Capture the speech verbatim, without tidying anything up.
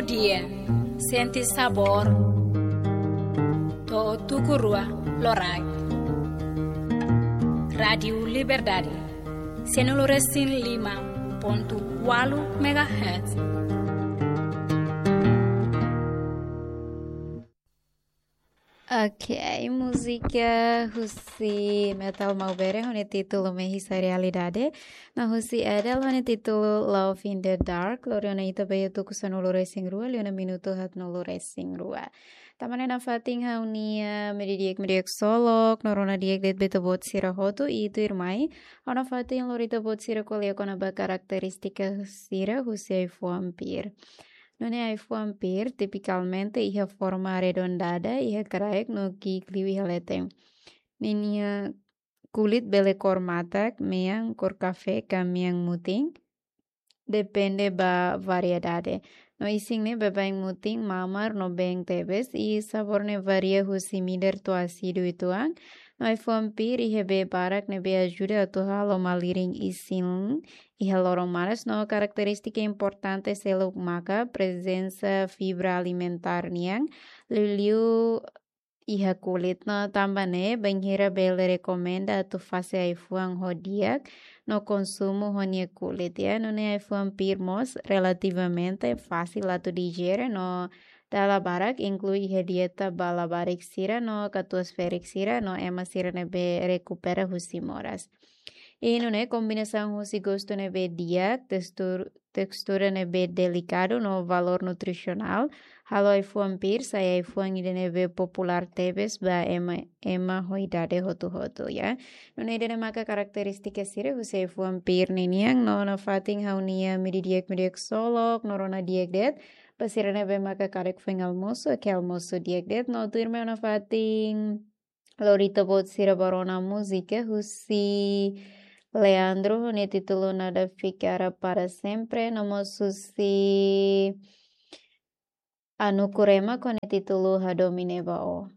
Dia, sente sabór. To'o tuku rua loraik. Rádiu Liberdade, cento e cinco e cinco ponto quatro megahertz. Ok, múzika husi Metal Maubere ho nia títulu Mehi Sai Realidade, no husi Edel ho nia títulu Love in the Dark. Lori ona ita ba iha tuku sanulu-resin-rua, liu ona minutu haatnulu-resin-rua. Tanba ne'e nafatin ha'u-nia meiudia di'ak, meiudia di'ak ksolok, no rona di'ak de'it ba ita-boot sira hotu, i tuirmai ha'u nafatin lori ita-boot sira ko'alia kona-ba karakterístika sira husi ai-fuan pir. Nune'e ai-fuan pir, tipikalmente iha forma arredondada iha kraik no ki'ik liu iha leten. Ninia kulit bele kór matak, mean, kór kafé ka mean mutin, depende ba variedade. No isin ne'e baibain mutin, mamar no been tebes, i sabór ne'e varia husi midar to'o ásidu uitoan. No ai-fuan pir iha bee barak ne'ebé ajuda atu halo malirin isin iha loron manas. No karakterístika importante seluk maka prezensa fibra alimentár nian, liuliu iha kulit. No tanba ne'e bainhira bele rekomenda atu fase ai-fuan ho di'ak no konsumu ho nia kulit, ya. Nune'e ai-fuan pir mós relativamente fasil atu dijere no dala barak inklui iha dieta ba labarik sira no katuas-ferik sira no ema sira ne'ebé rekupera husi moras. I nune'e kombinasaun husi gostu ne'ebé di'ak, testur-, tekstura ne'ebé delikadu no valór nutrisionál halo ai-fuan pir sai ai-fuan ida ne'ebé populár tebes ba ema, ema ho idade hotu-hotu, ya. Nune'e ida-ne'e maka karakterístika sira husi ai-fuan pir ninian. No nafatin ha'u-nia meiudia di'ak, meiudia di'ak ksolok, no rona di'ak de'it ba sira ne'ebé maka karik foin almosu, ke almosu di'ak de'it. No tuirmai ha'u nafatin lori ita-boot sira ba rona múzika husi Leandro ho nia títulu Nada Ficará Para Sempre, no mós husi Anukurema ho nia títulu Hadomi Ne'e Ba Ó.